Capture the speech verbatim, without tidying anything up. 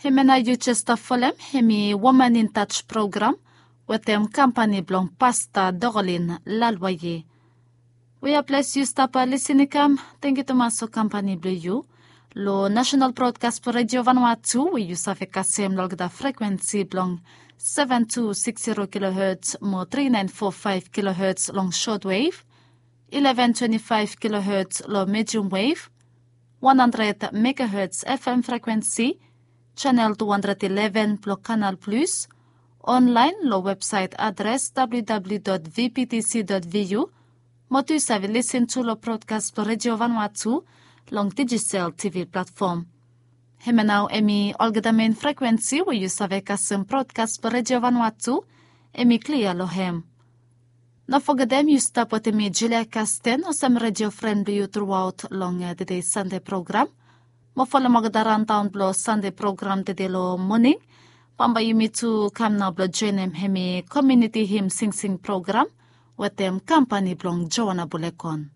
Hemia nao yu jes stap folem, hemi Woman in Touch program wetem kampani blong Pasta Dokolin Lalwaye. We ya ples yu stap lisin i kam, tangkiu tumas long kampani blong yu. Long National Broadcast blong Radio Vanuatu, we yu save kasem long olgeta frekuensi blong seven two six zero kilohertz mo three nine four five kilohertz long shortwave, eleven twenty-five kilohertz long medium wave, one hundred megahertz F M frekuensi, channel two hundred eleven blong Canal Plus, online long website adres W W W dot V P T C dot V U, mo tu yu save lisin tu long broadcast blong Radio Vanuatu long Digicel T V platform. Hemia nao hemi olgeta main frekuensi we yu save kasem broadcast blong Radio Vanuatu, hemi klia long hem. No fogetem yu stap wetem mi Julia Kasten olsem radio fren blong yu truaot long, eh, tede Sande program. Mo folem olgeta rundown blong Sande program tede long moning. Bambae yumi tu kam nao blong joenem hemi community hymn singsing program wetem kampani blong Joana Bulekon.